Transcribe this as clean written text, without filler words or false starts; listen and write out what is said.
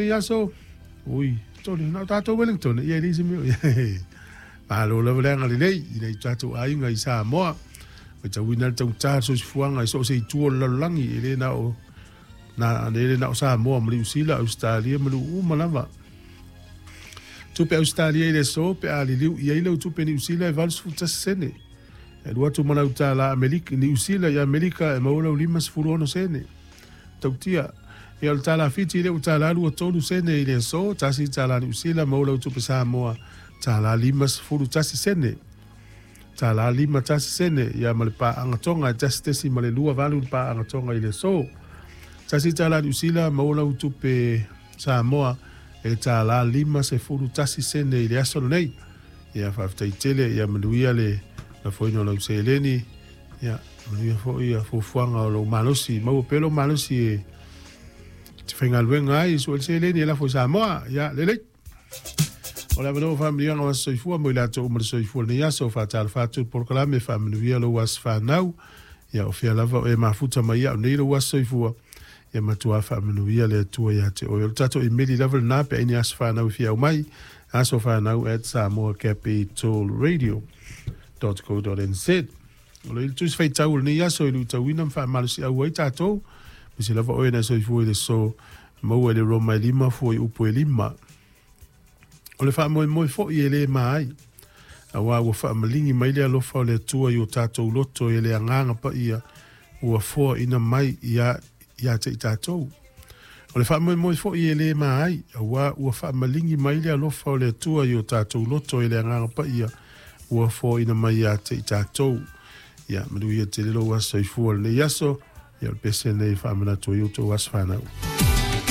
Lenei aso, ui, tole, na o tatou Wellington, ia e leai se mea o i ai. Malo lava le agalelei i nai o tatou aiga i Samoa. Matauina le taugata o le soifuaga i so o se itu o le lalolagi, e le na o, na, e le na o Samoa ma Niu Sila, Ausetalia ma nuu uma lava. Tupe Ausetalia i le aso pe a liliu i ai lau tupe Niu Sila e 81 sene. E alu atu ma lau tala Amerika, Niu Sila i Amerika e maua lau 56 sene. Tautia. Ia o le tala Fiti lea ua tala 23 sene i le aso, tasi tala Niu Sila maua lau tupe Samoa tala 51 sene. Tala 51 sene ia ma le paaga Tonga e 1.28 le paaga Tonga i le aso. Tasi tala Niu Sila maua lau tupe Samoa e tala 51 sene i le aso lenei. Ia faafetai tele ia manuia le lafoina o lau seleni. Ia, manuia foi ia fuafuaga o lou malosi, maua pea lou malosi e te faigaluega ai, sue le seleni e lafo i Samoa. Ia, lelei. O le avanoa faamanuiaga o aso soifua mo i latou uma le soifua lenei aso, faatalofa atu le polokalame, faamanuia lou aso fanau. Ia, o fea lava o e mafuta mai au nei lou aso soifua, ia matua faamanuia le Atua ia te oe. O le tatou imeli lava lena pe ai ni aso fanau e fia aumai, asofanau@samoacapitalradio.co.nz. O le tusi faitau o lenei aso e luitauina ma faamalosiau ai tatou, aemaise lava oe na soifua i le aso maua i le Roma e 5 fuaiupu e 5. O le faamoemoe foi e le ma ai, auā ua faamaligi mai le alofa o le Atua i o tatou loto e le Agaga Paia ua foaina mai ia ia te i tatou. O le faamoemoe foi e le ma ai, auā ua faamaligi mai le alofa o le Atua i o tatou loto e le Agaga Paia ua foaina mai ia te i tatou. Ia, manuia tele lou aso soifua lenei aso. Ia, o le pese lenei e faamanatu ai outou aso fanau.